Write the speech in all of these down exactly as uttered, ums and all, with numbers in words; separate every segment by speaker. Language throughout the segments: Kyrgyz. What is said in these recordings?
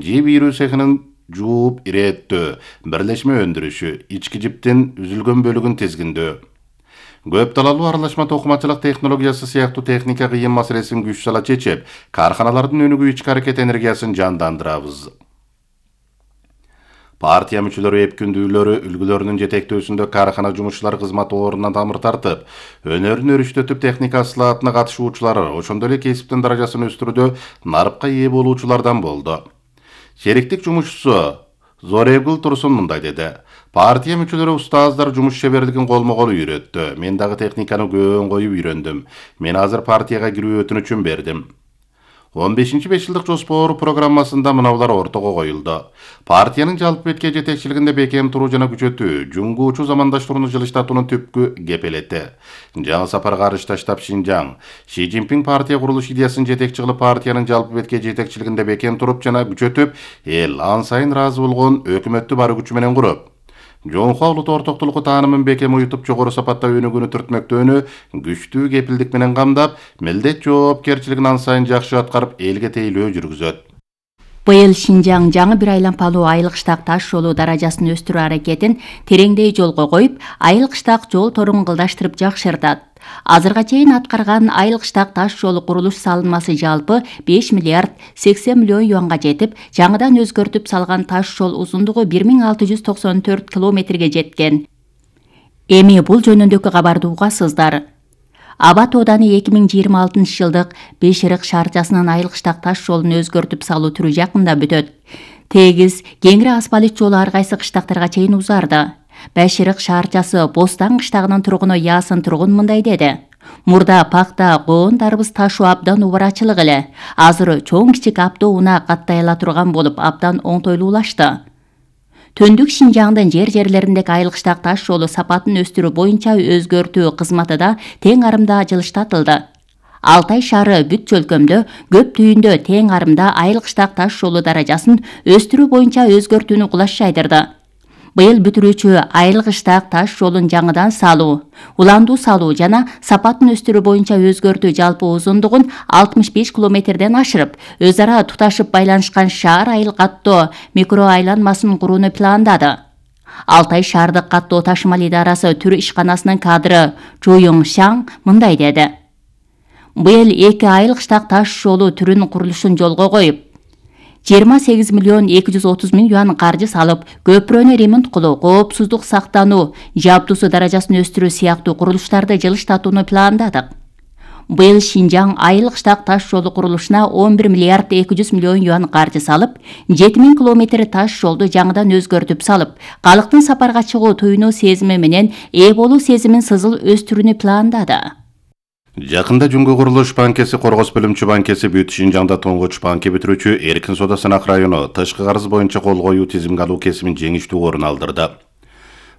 Speaker 1: жип ийрүү цехинин жууп ирээттөө, бирлешме өндүрүшү, ички жиптин үзүлгөн бөлүгүн тизгиндөө. Көп талалуу аралашма токумачылык технологиясы сыяктуу техника кыйын маселесин күч сала чечип, карханалардын өнүгүү ички аракет энергиясын жандандырабыз. Партия мүчөлөрү эпкүндүүлөрү үлгүлөрүнүн жетектөөсүндө кархана жумушчулар кызмат ордунан тамыр тартып, өнөрүн өрүштөтүп техника ысылаатына катышуучулар, ошондой эле кесиптин даражасын өстүрүүдө нарыпка ээ болуучулардан болду. Шериктик жумушчусу Зорегул Турсун мындай деди. Партия мүчөлөрү устаздар жумуш шеберлигин колмо-кол үйрөттү. Мен дагы техниканы көөн коюп үйрөндүм. Мен азыр партияга кирүү өтүнүчүн бердим. он бешинчи беш жылдык жоспор программасында мынаулар ортого коюлду. Партиянын жалпы бетке жетекчилигинде бекем туруу жана күчөтүү, жуңгуучу замандаштырууну жылыштатуунун түпкү кепелети. Жаңы сапарга арышта штаб Шинжаң, Ши Цзиньпин партия курулуш идеясын жетекчи кылып партиянын жалпы бетке жетекчилигинде бекем туруп жана күчөтүп, эл ан сайын ыраазы болгон өкмөттү бар күчү менен куруп, Жоңхо улут ортоктулугу таанымын бекем уютуп жогору сапатта өнүгүүнү түртмөктөөнү күчтүү кепилдик менен камдап, милдет жоопкерчилигин ан сайын жакшы аткарып, элге тейлөө жүргүзөт.
Speaker 2: Быйыл Шинжаң жаңы бир айланпалуу айыл кыштак таш жолу даражасын өстүрүү аракетин тереңдей жолго коюп, айыл кыштак жол торун кылдаштырып жакшыртат. Азырга чейин аткарган айыл кыштак таш жолу курулуш салынмасы жалпы беш миллиард сексен миллион юанга жетип, жаңыдан өзгөртүп салган таш жол узундугу бир миң алты жүз токсон төрт километрге жеткен. Эми бул жөнүндөгү кабарды угасыздар. Абат ооданы эки миң жыйырма алтынчы жылдык Беширык шаарчасынын айыл кыштак таш жолун өзгөртүп салуу түрү жакында бүтөт. Тегиз, кеңири асфальт жолу ар кайсы кыштактарга чейин узарды. Беширык шаарчасы Бостан кыштагынын тургуну Ясын Тургун мындай деди. Мурда пакта, коон, дарбыз ташуу абдан убарачылык эле. Азыр чоң кичик абдо унаа каттай ала турган болуп, абдан оңтойлуулашты. Төндүк Шинжаңдын жер-жерлериндеги айыл кыштак таш жолу сапатын өстүрүү боюнча өзгөртүү кызматы да тең арымда жылыштатылды. Алтай шаары бүт чөлкөмдө көп түйүндө тең арымда айыл кыштак таш жолу даражасын өстүрүү боюнча өзгөртүүнү кулаш жайдырды. Быйыл бүтүрүүчү айыл кыштак таш жолун жаңыдан салуу, уландуу салуу жана сапатын өстүрүү боюнча өзгөртүү жалпы узундугун алтымыш беш километрден ашырып, өз ара туташып байланышкан шаар айыл каттоо микро айланмасын курууну пландады. Алтай шаардык каттоо ташымал идарасы түрү ишканасынын кадры Чуюң Шаң мындай деди. Быйыл эки айыл кыштак таш жолу түрүнүн курулушун жолго коюп, жыйырма сегиз миллион эки жүз отуз миң юан каржы салып, көпүрөнү ремонт кылуу, коопсуздук сактануу, жабдуусу даражасын өстүрүү сыяктуу курулуштарды жылыштатууну пландадык. Быйыл Шинжаң айыл кыштак таш жолу курулушуна он бир миллиард эки жүз миллион юан каржы салып, жети миң километр таш жолду жаңыдан өзгөртүп салып, калктын сапарга чыгуу туюнуу сезими менен ээ болуу сезимин сызыл өстүрүүнү пландады.
Speaker 1: Жакында Жүнгө курулуш банкеси Коргос бөлүмчү банкеси бүт Шинжаңда тоңгоч банки бүтүрүүчү Эркин Соода Сынак району тышкы карыз боюнча кол коюу тизимге алуу кесимин жеңиштүү орун алдырды.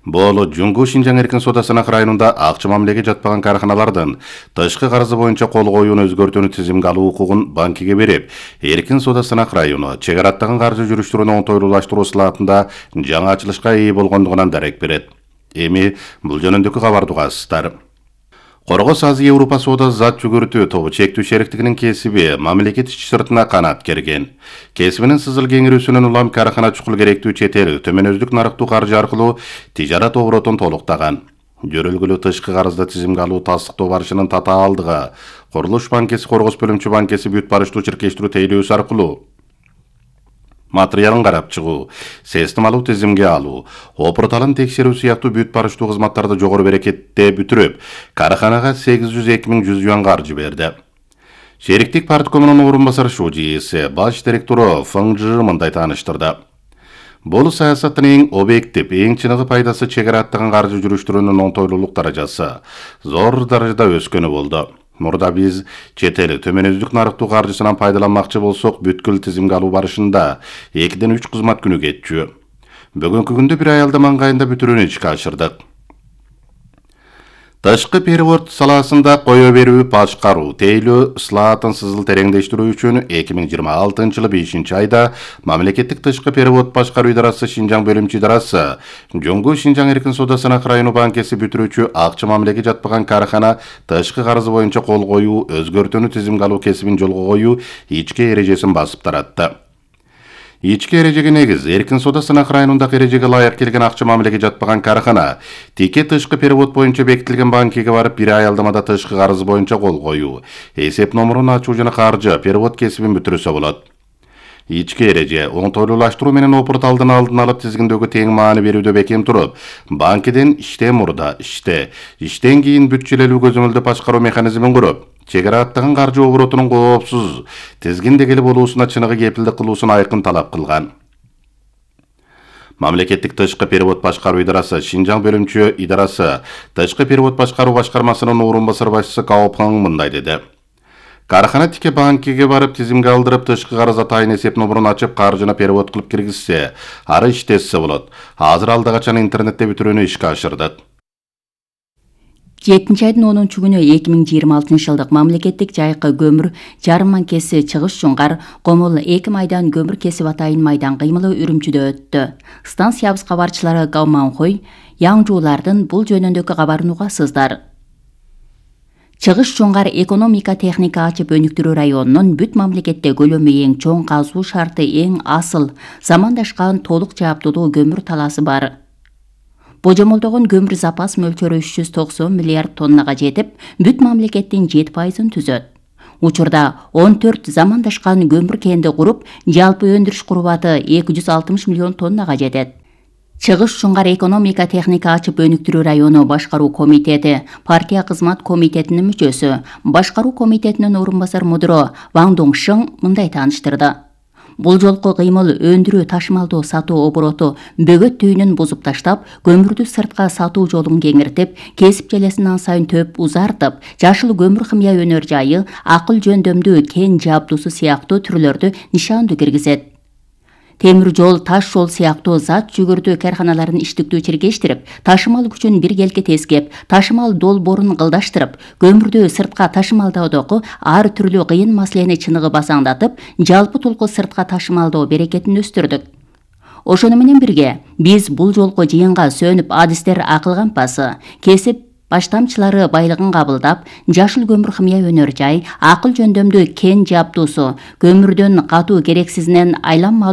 Speaker 1: Бул Жүнгө Шинжаң Эркин Соода Сынак районунда акча мамилеге жатпаган карханалардын тышкы карызы боюнча кол коюуну өзгөртүүнү тизимге алуу укугун банкиге берип, Эркин Соода Сынак району чек араттаган каржы жүрүштөрүнү оңтойлуулаштыруу сылаатында жаңы ачылышка ээ болгондугунан дарек берет. Эми бул жөнүндөгү кабарды угасыздар. Коргос Азия Европа соода зат жүгүртүү тобу чектүү шериктигинин кесиби мамлекет ич сыртына канат керген. Кесибинин сызыл кеңирүүсүнөн улам кархана чукул керектүү чет эл төмөнөздүк нарыктуу каржы аркылуу тижарат оборотун толуктаган. Жөрөлгүлүү тышкы карызды тизимге алуу тастыктоо барышынын татаалдыгы Курулуш банкеси Коргос бөлүмчү банкеси бүт барыштуу чиркештирүү тейлөөсү аркылуу материалын карап чыгуу, сестим алуу тизимге алуу, опурталын текшерүү сыяктуу бүт барыштуу кызматтарды жогору берекетте бүтүрүп, карханага сегиз жүз эки миң жүз юан каржы берди. Шериктик парткомунун орун басары Шужиси баш директору Фыңжы мындай тааныштырды. Бул саясаттын эң объектив, эң чыныгы пайдасы чек араттаган каржы жүрүштөрүнүн оңтойлуулук даражасы зор даражада өскөнү болду. Мурда биз чет эл төмөнөздүк нарыктуу каржысынан пайдаланмакчы болсок, бүткүл тизимге алуу барышында экиден үч кызмат күнү кетчү. Бүгүнкү күндө бир айылда маңгайында бүтүрүүнү ишке ашырдык. Тышкы перевод саласында кое берүү, башкаруу, тейлөө ысылаатын сызыл тереңдештирүү үчүн эки миң жыйырма алтынчы жылы бешинчи айда мамлекеттик тышкы перевод башкаруу идарасы Шинжаң бөлүмчү идарасы Жоңгу Шинжаң Эркин Соода Сынак району банкеси бүтүрүүчү акча мамилеге жатпаган кархана тышкы карызы боюнча кол коюу, өзгөртүүнү тизимге алуу кесибин жолго коюу ички эрежесин басып таратты. Ички эрежеге негиз эркин соода сынак районундагы эрежеге ылайык келген акча мамилеге жатпаган карахана тике тышкы перевод боюнча бекитилген банкиге барып бир аялдамада тышкы карыз боюнча кол коюу, эсеп номурун ачуу жана каржы перевод кесибин бүтүрүсө болот. Ички эреже оңтойлуулаштыруу менен опурт алдын алдын алып тизгиндөөгө тең маани берүүдө бекем туруп, банкиден иштен мурда иште, иштен кийин бүтчүлөлүү көзөмөлдөп башкаруу механизмин куруп, чегара аттаган каржы оборотунун коопсуз тизгиндегили болуусуна чыныгы кепилдик кылуусун айкын талап кылган. Мамлекеттик тышкы перевод башкаруу идарасы Шинжаң бөлүмчө идарасы тышкы перевод башкаруу башкармасынын орун басар башчысы Каопхаң мындай деди. Карахана тике банкиге барып тизимге алдырып тышкы карыз атайын эсеп номурун ачып каржыны перевод кылып киргизсе, ары иштесе болот. Азыр алда качан интернетте бүтүрүүнү ишке ашырдык.
Speaker 2: жетинчи айдын онунчу күнү эки миң жыйырма алтынчы жылдык мамлекеттик жайкы көмүр жарым манкеси Чыгыш Чуңкар Комул эки майдан көмүр кесип атайын майдан кыймылы Үрүмчүдө өттү. Станциябыз кабарчылары Гауманхой Яңжуулардын бул жөнүндөгү кабарын угасыздар. Чыгыш Чуңкар экономика техника ачып өнүктүрүү районунун бүт мамлекетте көлөмү эң чоң казуу шарты эң асыл замандашкан толук жааптуулуу көмүр талаасы бар. Божомолдогон көмүр запас мөлчөрү үч жүз токсон миллиард тоннага жетип, бүт мамлекеттин жети пайызын түзөт. Учурда он төрт замандашкан көмүр кенди куруп, жалпы өндүрүш курубаты эки жүз алтымыш миллион тоннага жетет. Чыгыш Чуңкар экономика техника ачып өнүктүрүү району башкаруу комитети, партия кызмат комитетинин мүчөсү, башкаруу комитетинин орун басар мудуру Ваң Доңшың мындай тааныштырды. Бул жолку кыймыл өндүрүү ташымалдоо сатуу обороту бөгөт түйүнүн бузуп таштап, көмүрдү сыртка сатуу жолун кеңиртип, кесип желесин ан сайын төп узартып, жашыл көмүр химия өнөр жайы, акыл жөндөмдүү кен жабдуусу сыяктуу түрлөрдү нишандуу киргизет. Темир жол, таш жол сыяктуу зат жүгүртүү карханаларын иштиктүү чиркештирип, ташымал күчүн бир келке тескеп, ташымал долбоорун кылдаштырып, көмүрдү сыртка ташымалдоодогу ар түрлүү кыйын маселени чыныгы басаңдатып, жалпы толку сыртка ташымалдоо берекетин өстүрдүк. Ошону менен бирге, биз бул жолку жыйынга сөнүп адистер акыл кампасы, кесип баштамчылары байлыгын кабылдап, жашыл көмүр химия өнөр жай, акыл жөндөмдүү кен жабдуусу, көмүрдөн катуу керексизинен айланма